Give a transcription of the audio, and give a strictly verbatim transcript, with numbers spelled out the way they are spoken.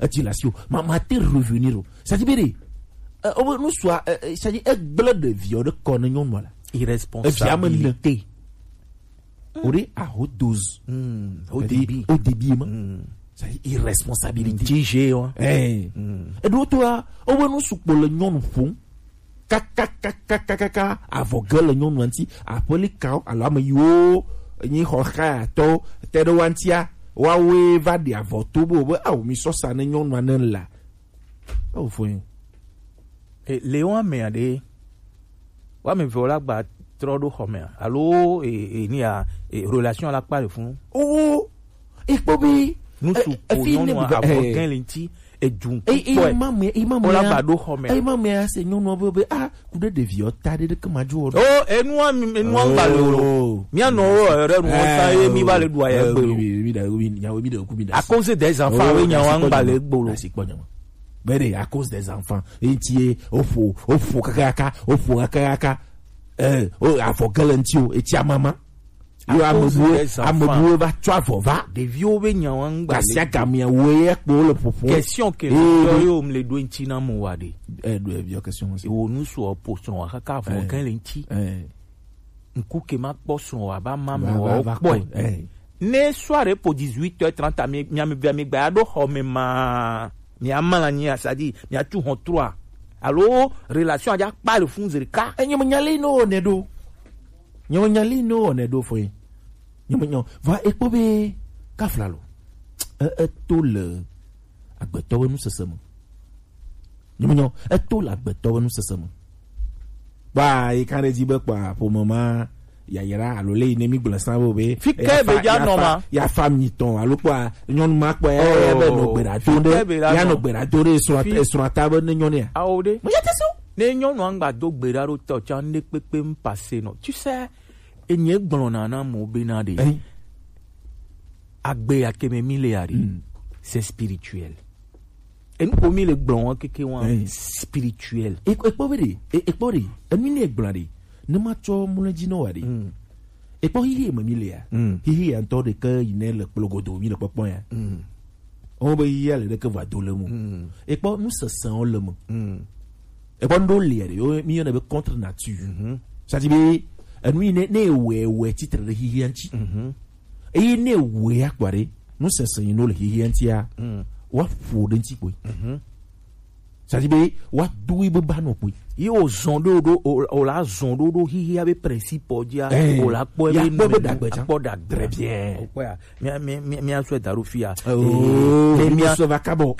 eti le asi o, ma ma te revenir o. Ça dit bere. Euh, o nu sua, euh, ça dit egble ɖeviwo ɖe kɔ ne nyɔnua la. Irresponsabilité. O ɖe aho dose. Mm, au débit. Au débit ma. Mm. Ça dit irresponsabilité. Ŋtsi je wa. Eh. Mm. Eɖo to a, o be nu sukpɔ le nyɔnu ƒom. Kakakakakaka avɔ ge le nyɔnua ŋuti, aƒeli kawo alo ame yiwo nyi xɔxayatɔwo te ɖe woa ŋutia, woawoe va ɖi avɔ to be wobe, ao, mi sɔ sa ne nyɔnua ne la. Ao, fo nyi. E, le wo amea ɖe, wo ame eve wo la gba trɔ ɖo xɔ mea, alo, e, e, ni ya, e, relation la kpa le funu. Oh, ekpɔ be, nu su ko nyɔnua avɔ gɛn le ŋuti, edu ŋku kɔe. Ema me, ema me. Wola ba ɖo xɔ me. Ema me ase nyɔnua be, be, ah, ku ɖe ɖeviwo ta ɖe ɖeke ma dzo o. Oh, enua mi, enua ŋgba le o. Oh. Mía nɔ wo, ere nu sa ye mi va le ɖu aya gbe o. Mi, mi da, mi, nyawo mi da ku mi da. À cause des enfants, we nyawo ŋgba le gbe o. Asi kpɔ nyawo. Bere, à cause des enfants. Enti ye, ofo, ofo kakaka, ofo kakaka. Eh, o, afɔ kele ŋuti o, eti amama. Yo, ame buwo, ame buwo va tsɔ avɔ va. Ɖeviwo be nyawo ŋgba le. Gasi agamea wo ye kpo le ƒoƒo. Question ke le yɔ yo mle ɖo ŋuti na mo wa ɖe. Eh, ɖo eviɔ question mo si. Wo nu sɔ po srɔ̃ wa kaka avɔ gɛn le ŋuti. Eh. Ŋku ke ma kpɔ srɔ̃ wa ba ma me wa kpɔe. Eh. Ne soirée po dix-huit heures trente, mi, mi, mi, mi gba ya ɖo xɔ me ma. Mia mla nyi asadi, mia tu hɔn trois. Alo relation aja kpa le fun zerika. Enye me nyali no ne do. Nye me nyali no ne do foi. Nye me nyo. Va ekpo be kafla lo. E, e to le agbetɔ be nusese me. Nye me nyo. E to le agbetɔ be nusese me. Ba, yi kan ɖe dzi be kpa ƒome ma yayra alo le yi ne mi gblɔ sa bo be. Fi ke be ja nɔ ma. Ya fa mi tɔn alo kpa nyɔnu ma kpa ya be nɔ gbe ɖa do ɖe. Ya nɔ gbe ɖa do ɖe esrɔ̃, esrɔ̃ ta be ne nyɔnu ya. Awo ɖe. Mo ya te so. Ne nyɔnu angba do gbe ɖa ɖo tɔ tsa ne kpekpe m pase nɔ. Tu sais, enye gblɔ na na mo be na ɖe. Agbe ya ke me mi le ya ɖe. C'est spirituel. Enu ko mi le gblɔ wɔn keke wɔn spirituel. Ekpɔ be ɖe, ekpɔ ɖe, enu ne gblɔ ɖe, ne ma tsɔ mlɔ dzi nɔ wa ɖe. Ekpɔ hihi me mi le ya. Hihi ya ŋutɔ ɖe ke yi ne le kplɔ godo mi le kpɔkpɔ ya. Wɔn be hihi ya le ɖe ke va do le mu. Ekpɔ nu sesẽ wo le mu. Ekpɔ ŋɖo le ɖe, yo, mi yɔnɛ be contre nature. Ça dit be, enu yi ne, ne wɛ, wɛ titre ɖe hihi ya ŋuti. Eye ne wɛ ya kpɔ ɖe, nu sesẽ yi no le hihi ya ŋutia, wa ƒo ɖe ŋuti kpoe. Ça dit be, wa do yi be ba nɔ kpoe. Yi o zɔn ɖo ɖo, o, o la zɔn ɖo ɖo hihi ya be principe dzi a, o la kpɔ be dagbe tsa. Kpɔ dagbe. Très bien. O kpɔ ya. Mi, mi, mi, mi asɔ da ɖo fi ya. Oh, ke mi asɔ va kabɔ.